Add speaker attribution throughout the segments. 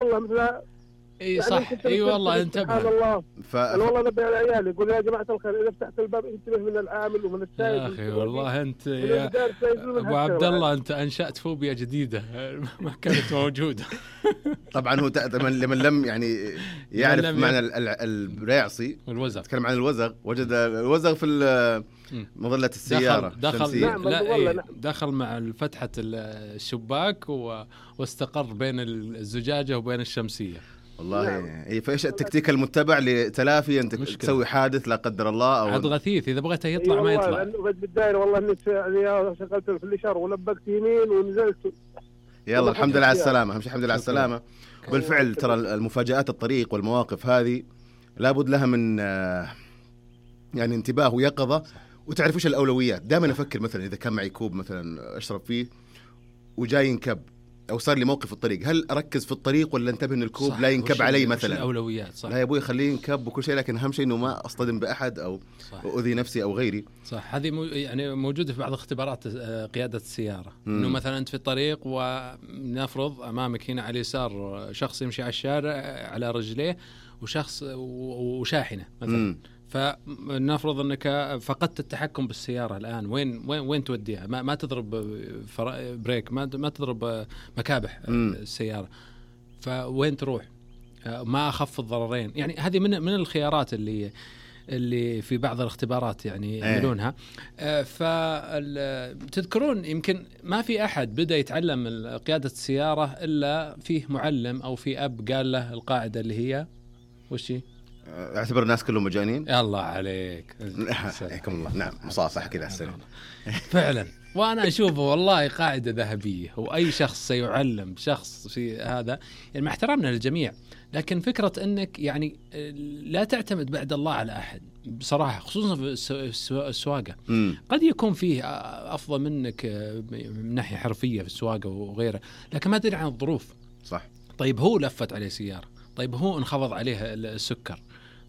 Speaker 1: والله مثل
Speaker 2: اي صح. اي والله انتبه.
Speaker 1: سبحان الله. والله نبي على عيالي يقول يا جماعه الخير اذا فتحت الباب انتبه من العامل ومن السائق.
Speaker 2: يا اخي والله انت يا ابو عبد الله انت انشأت فوبيا جديده ما كانت موجوده.
Speaker 3: طبعا هو لمن لم يعني يعرف معنى الريعصي
Speaker 2: والوزغ،
Speaker 3: تكلم عن الوزغ، وجد الوزغ في مظلة السيارة.
Speaker 2: دخل مع فتحة الشباك واستقر بين الزجاجة وبين الشمسية.
Speaker 3: والله فايش التكتيك المتبع لتلافي انت تسوي حادث لا قدر الله او
Speaker 2: عاد غثيث اذا بغيته يطلع ما يطلع.
Speaker 1: بالدائرة والله انك يعني شغلت في الاشاره ولبكت يمين ونزلت.
Speaker 3: يلا الحمد لله على السلامه. الحمد لله على السلامه. بالفعل ترى المفاجآت الطريق والمواقف هذه لابد لها من يعني انتباه ويقظه، وتعرف ايش الاولويات. دائما افكر مثلا اذا كان معي كوب مثلا اشرب فيه وجاي ينكب او صار لي موقف في الطريق، هل اركز في الطريق ولا انتبه ان الكوب لا ينكب علي مثلا؟
Speaker 2: الاولويات صح.
Speaker 3: لا يا ابوي خليه ينكب وكل شيء، لكن اهم شيء انه ما اصطدم باحد او اؤذي نفسي او غيري.
Speaker 2: صح. هذه يعني موجوده في بعض اختبارات قياده السياره. انه مثلا انت في الطريق ونفرض امامك هنا على اليسار شخص يمشي على الشارع على رجليه وشخص وشاحنه مثلا. فنفرض انك فقدت التحكم بالسياره الان، وين توديها؟ ما تضرب بريك، ما تضرب مكابح السياره، فوين تروح؟ ما اخف الضررين. يعني هذه من الخيارات اللي في بعض الاختبارات يعني يعملونها. فتذكرون يمكن ما في احد بدا يتعلم قياده السياره الا فيه معلم او في اب قال له القاعده اللي هي وش هي؟
Speaker 3: اعتبر الناس كلهم مجانين.
Speaker 2: الله عليك.
Speaker 3: حياكم الله. نعم مصافحة كذا السلام.
Speaker 2: فعلا. وانا اشوفه والله قاعده ذهبيه، واي شخص سيعلم شخص في هذا يعني مع احترامنا للجميع، لكن فكره انك يعني لا تعتمد بعد الله على احد بصراحه، خصوصا في السواقه. قد يكون فيه افضل منك من ناحيه حرفيه في السواقه وغيره، لكن ما تدري عن الظروف.
Speaker 3: صح.
Speaker 2: طيب هو لفت عليه سياره، طيب هو انخفض عليه السكر،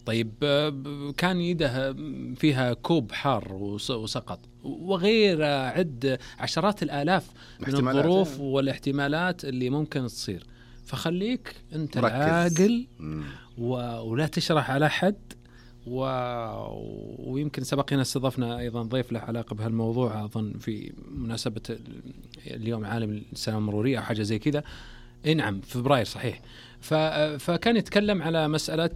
Speaker 2: طيب كان يده فيها كوب حار وسقط، وغير عد عشرات الآلاف من الظروف والاحتمالات اللي ممكن تصير. فخليك أنت العاقل ولا تشرح على حد. ويمكن سبقنا استضفنا أيضا ضيف له علاقة بهالموضوع أظن في مناسبة اليوم عالم السلامة المرورية أو حاجة زي كذا. نعم فبراير صحيح. فكان يتكلم على مسألة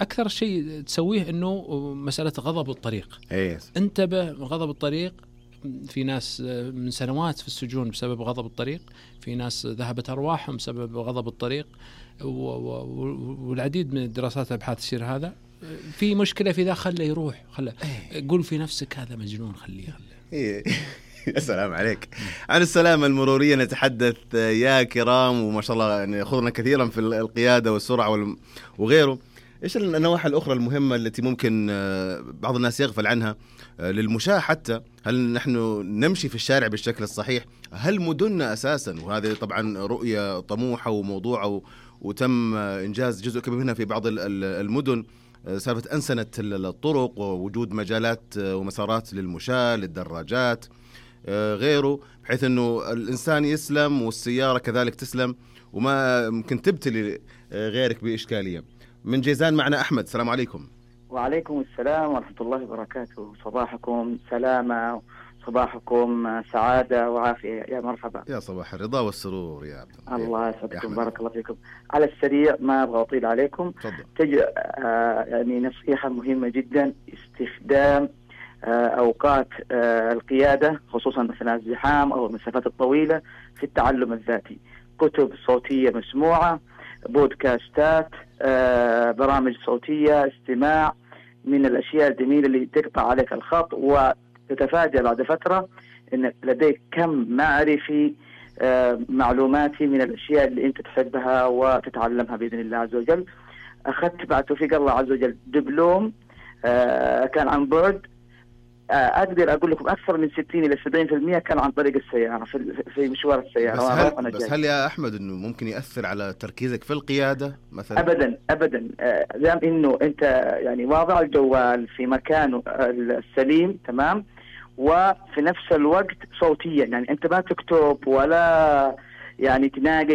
Speaker 2: أكثر شيء تسويه إنه مسألة غضب الطريق. انتبه غضب الطريق. في ناس من سنوات في السجون بسبب غضب الطريق، في ناس ذهبت أرواحهم بسبب غضب الطريق، والعديد من الدراسات والأبحاث تشير هذا. في مشكلة في ذا خله يروح، خله قول في نفسك هذا مجنون خليه.
Speaker 3: السلام عليك. عن السلامة المرورية نتحدث يا كرام، وما شاء الله يعني يأخذنا كثيرا في القيادة والسرعة وغيره. إيش النواحي الأخرى المهمة التي ممكن بعض الناس يغفل عنها للمشاة؟ حتى هل نحن نمشي في الشارع بالشكل الصحيح؟ هل مدننا أساسا، وهذه طبعا رؤية طموحة وموضوعة وتم إنجاز جزء كبير منها في بعض المدن، سالفة أنسنة الطرق ووجود مجالات ومسارات للمشاة للدراجات غيره، بحيث أنه الإنسان يسلم والسيارة كذلك تسلم وما ممكن تبتلي غيرك بإشكالية. من جيزان معنا أحمد. السلام عليكم.
Speaker 4: وعليكم السلام ورحمة الله وبركاته. صباحكم سلامة، صباحكم سعادة وعافية. يا مرحبا.
Speaker 3: يا صباح الرضا والسرور يا عبد
Speaker 4: الله يسعدكم. بارك الله فيكم. على السريع ما أبغى أطيل عليكم. يعني نصيحة مهمة جدا، استخدام أوقات القيادة خصوصا أثناء الزحام أو المسافات الطويلة في التعلم الذاتي. كتب صوتية مسموعة، بودكاستات، برامج صوتية، استماع من الأشياء الجميلة اللي تقطع عليك الخط وتتفاجأ بعد فترة أن لديك كم معرفي معلوماتي من الأشياء اللي أنت تحبها وتتعلمها بإذن الله عز وجل. أخذت بعد توفيق الله عز وجل دبلوم كان عن بعد، أقدر أقول لكم أكثر من 60 إلى 70% كان عن طريق السيارة في مشوار السيارة.
Speaker 3: بس هل يا أحمد إنه ممكن يأثر على تركيزك في القيادة مثلا؟
Speaker 4: أبدا دام إنه أنت يعني واضع الجوال في مكانه السليم تمام، وفي نفس الوقت صوتيا، يعني أنت ما تكتب ولا يعني تناقش